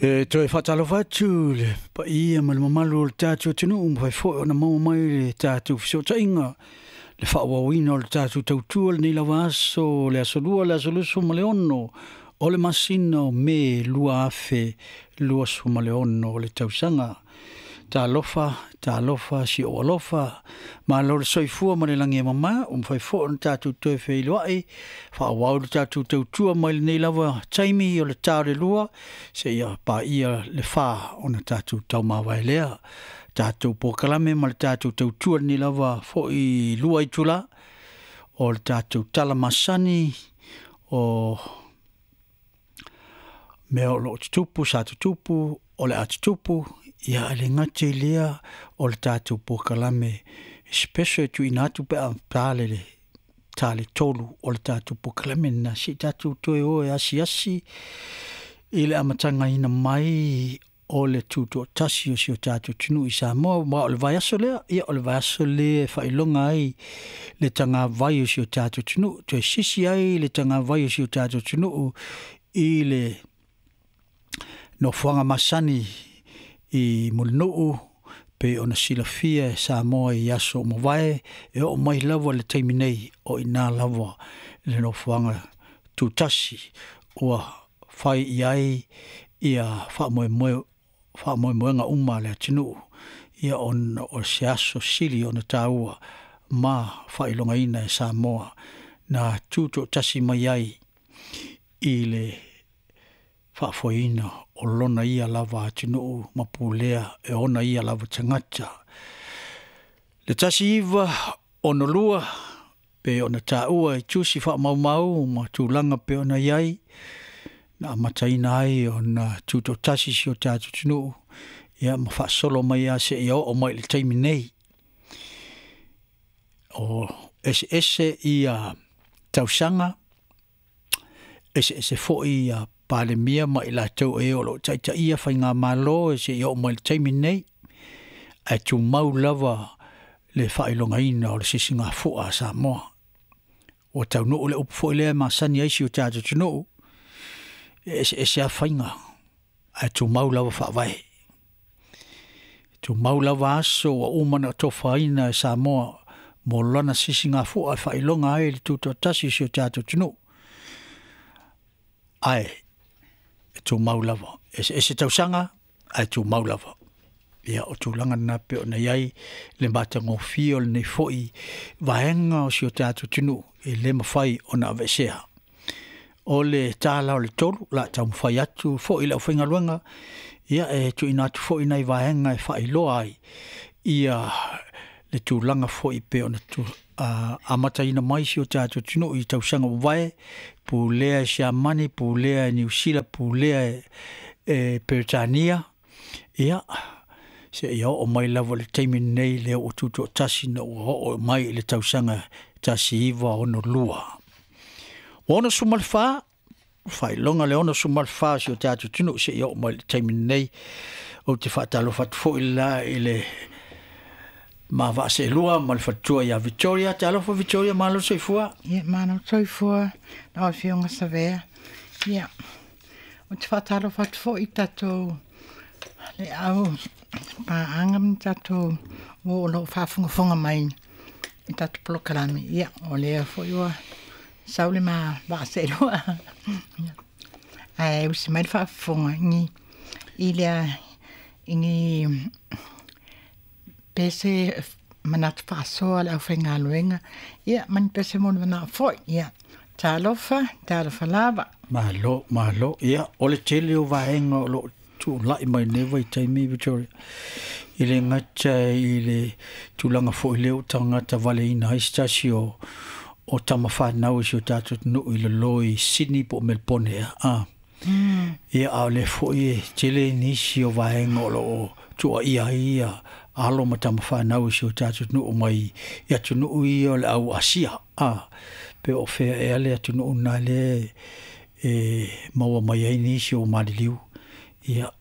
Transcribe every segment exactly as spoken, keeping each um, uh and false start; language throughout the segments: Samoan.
E toe faatalofa atu le paia ma le mamalu o le tatou atunuu, mafai foi ona maua mai le tatou fesootaiga, le faaauauina o le tatou tautua lenei lava aso, le aso lua, le aso lusu ma le ono o le masina o Me lua afe luasu ma le ono o le tausaga. Talofa, talofa, si ou alofa, malo le soifua ma le lagi e mama, ua mafai foi ona tatou toe feiloai, faaauau le tatou tautua mai lenei lava taimi o le ta o le lua, seia paia le fa ona tatou taumavae lea. Tatou polokalame ma le tatou tautua lenei lava foi lua itula, o le tatou tala masani o mea o loo tutupu, sa tutupu, o le a tutupu, ia le gata i lea o le tatou polokalame special e tuuina atu pe a ta le ta le tolu o le tatou polokalame lena, se i tatou toe o e asiasi i le amatagaina mai o le tutoatasi o si o tatou atunuu i Samoa. Ma o le vaiaso lea, ia o le vaiaso lea e faailoga ai le tagavai o si o tatou atunuu, toe sisi ai le tagavai o si o tatou atunuu i le nofoaga masani i Mulinuu, pe ona silafia e Samoa i aso o mavae, e oo mai lava le taimi nei o ina lava le nofoaga tutasi ua fai i ai ia faamoemoe faamoemoega uma a le atunuu, ia ona o se aso sili ona taua ma faailogaina e Samoa na tutoatasi mai ai i le faafoeina o lona ia lava atunuu ma pulea e ona ia lava tagata. Le tasi iva ono lua pe ona taua i tusi faamaumau ma tulaga pe ona i ai, na amataina ai ona tutoatasi si o tatou atunuu, ia ma faasolo mai lava seia oo mai i le taimi nei. O eseese ia tausaga, eseese foi ia Palemia ma i latou e o loo taitaia faigamalo e seia oo mai i le taimi nei, ae tumau lava le faailogaina o le sisigafua a Samoa. Ua taunuu le upu foi lea e masani ai si o tatou atunuu, e eseese lava faiga ae tumau lava faavae. E tumau lava aso ua uma ona tofaina e Samoa mo lana sisigafua e faailoga ai le tutoatasi o si o tatou atunuu, ae e tumau lava, eseese tausaga ae tumau lava. Ia o tulaga na pe ona i ai le matagofie o lenei foi vaega o si o tatou atunuu e le mafai ona aveesea. O le tala o le tolu la taumafai atu foi le aufaigaluega, ia e tuuina atu foi nai vaega e faailoa ai ia le tulaga foi pe ona tu, uh, amataina mai si o tatou atunuu i tausaga ua vae, pulea e Siamani, pulea e Niu Sila, pulea e, e Peretania, ia seia oo mai lava i le taimi lenei lea ua tutoatasi na ua oo mai i le tausaga tasi iva ono lua. Ua ono sefulu ma le fa, faailoga le ono sefulu ma le fa o si o tatou atunuu seia oo mai i le taimi lenei. Ou te faatalofa atu foi la i le ma vaaseelua ma le faletua ia Victoria. Talofa Victoria, malo soifua. Ia, malo soifua, lau Afioga Savea. Ia, ou te faatalofa atu foi i tatou le au paaga ma tatou o loo faafogafoga mai i tatou polokalame. Ia, o lea foi ua sau le ma vaaseelua. Ae usi mai le faafofoga i i lea i ni pese manatu faasoa le aufaigaluega, ia ma ni pese mo le manao foi. Ia, talofa, talofa lava. Malo, malo. Ia, o le tele o vaega o loo tuulai mai nei vaitaimi Victoria, i le gata i le tulaga foi lea ua tagata valeina ai se tasi o o tamafanau i si o tatou atunuu i lalo i Sydney po o Melbourne ea. Ah. Mm. Ia, a o le foi e tele nisi o vaega o loo tuuaia ai ia alo ma tamafanau i si o tatou atunuu mai i atunuu ia o le au Asia. Ah, pe o fea ea le atunuu na lea e maua mai ai nisi o maliliu. Ia,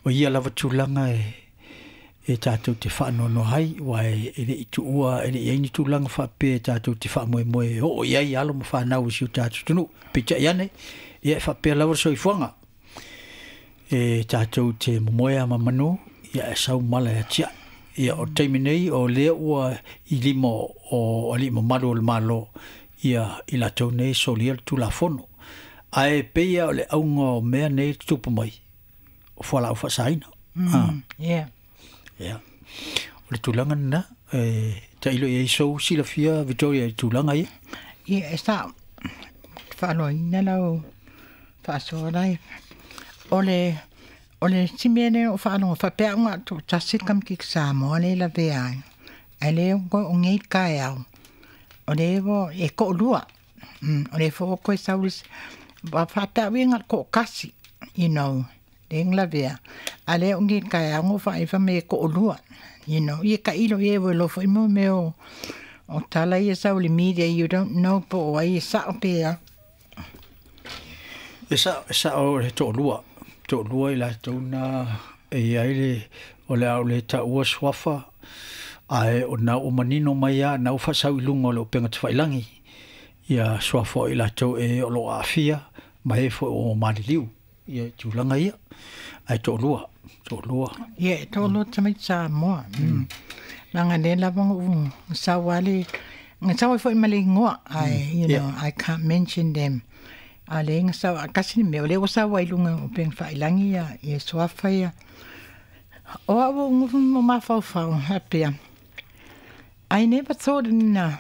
o ia lava tulaga e e tatou te faanoanoa ai, ua e, e le i tuua, e le i ai ni tulaga faapea e tatou te faamoemoe e oo i ai alo ma fanau i si o tatou atunuu. Peitai ane, ia e faapea lava le soifuaga. E tātou te momoea ma manu, ia e sau mala e tia. Ia o taimi nei o lea ua i lima o ali mamalu o le malo ia i latou nei solia le tulafono. Ae peia o le auga o mea nei tutupu mai o fualaau faasaina. Mm, yeah. Yeah. O le tulaga lena, e tailo i ai sou silafia Victoria i tulaga ia. Ia, e sa faaloina lau faasoa lai. O le o le simea lea o faalogo faapea uga toatasi le kamikiki Samoa le lavea ai. Ae le o nei taeao. O le ua e toalua. Mm, o le foi ua toe sau le isi faapea uiga le toatasi, you know, le lavea. A lea o nei taeao na ou vaai fai mai e toalua, you know. Ia tailo i ai ua iloa foi mo mea o o tala ia sau i le media, you don't know po o ai e sao pe a. E sao, e sao le toalua, toalua i latou na e i ai le, o le a o le taua suafa, ae o na ua manino mai lava, na ua faasau i luga o le upega tafailagi, ia suafa o i latou e o lo o aafia, ma e foi o maliliu, ia i tulaga ia, ae toalua, toalua. Ia, e toalua tamaiti Samoa. Mm. Leaga lea lava na ou sau lava le, na sau ai foi ma le igoa, I, you know, I can't mention them. A lea na sau, tasi le mea, o lea ua sau ai i luga o upega tafailagi ia, ia suafa ia. O au ua ou nofo ma mafaufau faapea, I never thought in a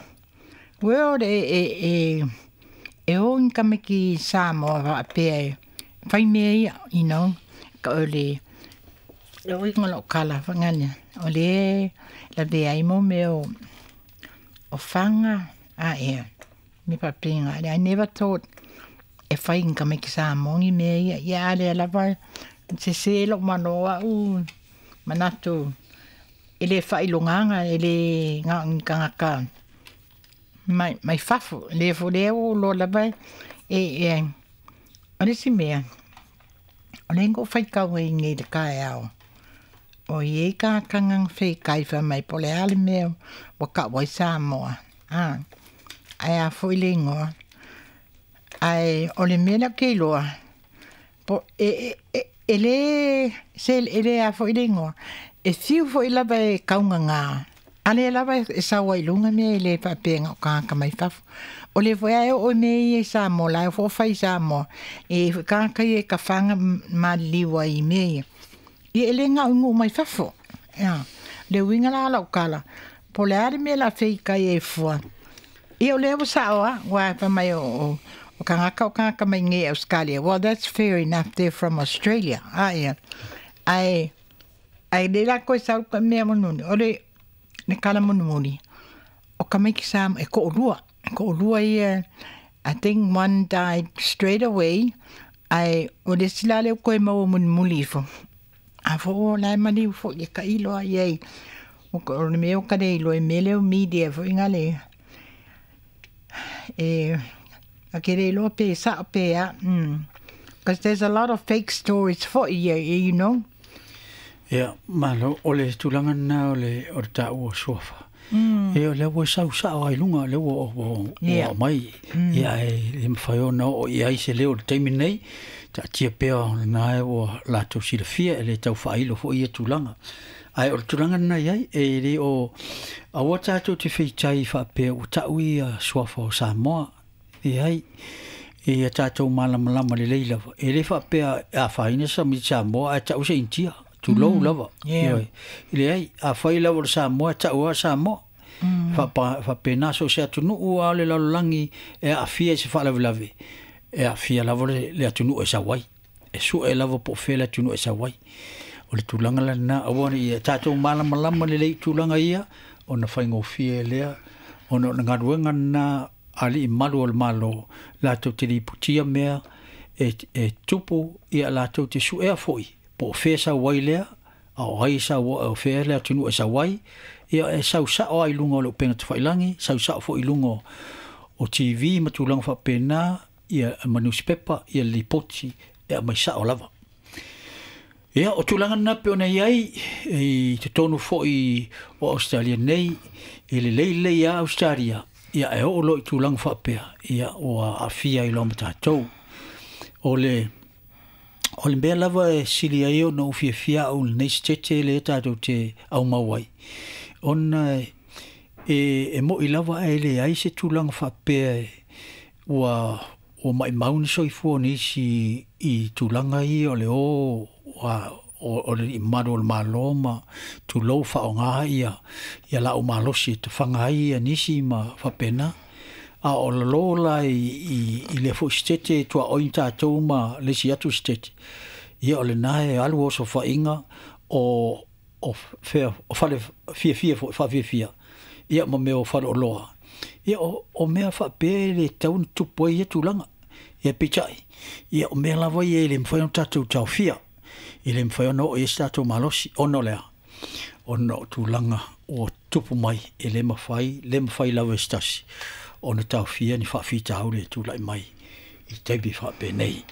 world e, e, e, e o ni tamaiti Samoa faapea e fai mea ia, you know, ka o le, le uiga o lau tala fagale, o lea e lavea ai mo mea o, o faga a ea, me faapena. I never thought e fai ni tamaiti Samoa ni mea ia, ia a lea lava sese lou malo au manatu e le faailogaga e le na o ni tagata mai mai fafo. Le foi lea ua ou iloa lava e e o le isi mea o lea na ou faitau ai nei i le taeao, o i ai tagata na feitai fai mai po o le a le mea ua tau ai Samoa, a ae a foi le igoa. Ae o le mea lea ou te iloa, po e e e le se e le a foi le igoa, e fiu foi lava e taugagā, a lea lava e sau ai i luga mea e le faapea na o tagata mai fafo. O lea foi lava e oo i mea ia i Samoa, la e foi fai i Samoa, e i ai foi tagata ia e tafaga maliliu ai i mea ia. Ia e le gau i nuu mai fafo. Ia, le uiga la o lau tala, po o le a le mea o le a feitai ai fua. Ia o lea ua sao lava, aua fai mai o o o tagata o tagata mai nei Australia. Well, that's fair enough, they're from Australia. A ia, ae ae le latou e sau ka mea mulimuli, o le le tala mulimuli, o tamaiti Samoa e toalua, toalua ia, I think one died straight away, ae o le isi la lea ua toe maua mulimuli ifo. A foi o la e maliu foi e tailo lava i ai, o le mea ua ta le iloa i mea lea o media foi na le e a ke le iloa pe sao pe a. Mm. Because there's a lot of fake stories foi ia, you know. Ia, malo, o le tulaga lena o le o le taua suafa. Mm. E o lea ua sau sao ai luga, lea ua ua ua Yeah. aumai. Mm. Ia e le mafai ona oo i ai se leo i le taimi nei, taatia pea o lena e ua latou silafia e le tau faailo foi ia tulaga. Ae o le tulaga lena i ai, e le o aua tatou te feitai faapea ua tau ia suafa o Samoa. E ai, e ia tatou malamalama lelei lava. E le faapea e afaina sa mi Samoa ae tau se Initia. Tulou Mm. lava. Yeah. Ioe. Leai, afai lava o le Samoa, e tau lava Samoa. Mm. Faapa, faapena so o se atunuu lava o le lalolagi e aafia i se faalavelave, e aafia lava le, le atunuu e sau ai. E sue lava po o fea le atunuu e sau ai. O le tulaga la lena, aua ne i ia tatou malamalama lelei i tulaga ia, ona faigofie lea, ona o le galuega lena a alii malu o le Malo, latou te lipotia mea e, e tupu, ia latou te suea foi, po o fea sau ai lea, a o ai sau, o fea le atunuu e sau ai, ia e sau sao ai i luga o le upega tafailagi, sau sao foi i luga o, o T V ma tulaga faapena, ia ma newspaper, ia lipoti, e aumai sao lava. Ia, o tulaga lena pei ona i ai, i totonu foi o Australia nei, e lelei lelei lava Australia, ia e oo loa i tulaga faapea, ia ua aafia ai loa ma tatou. O le O le mea lava e sili ai ona ou fiafia au i lenei setete lea tatou te aumau ai, ona e e mo'i lava ae leai se tulaga faapea ua ua maimau ni soifua o nisi i tulaga ia o le o o alii mamalu o le Malo ma tulou faaaoga ia ia laau malosi e tafaga ai nisi ma faapena. A o lalo la i i lea foi setete tuaoi tatou ma le isi atu setete, ia o lena e alu osofaiga o o fea o fale fiafia foi faafiafia ia ma mea o faleoloa. Ia o o mea faapea e le tatau ona tupu ai ia tulaga. Ia peitai, ia o mea lava ia e le mafai ona tatou taofia, e le mafai ona oo i ai se tatou malosi, ona o le a? Ona o tulaga ua tupu mai, e le mafai, le mafai lava e se tasi ona taofia ni faafitauli e tulai mai i taimi faapenei.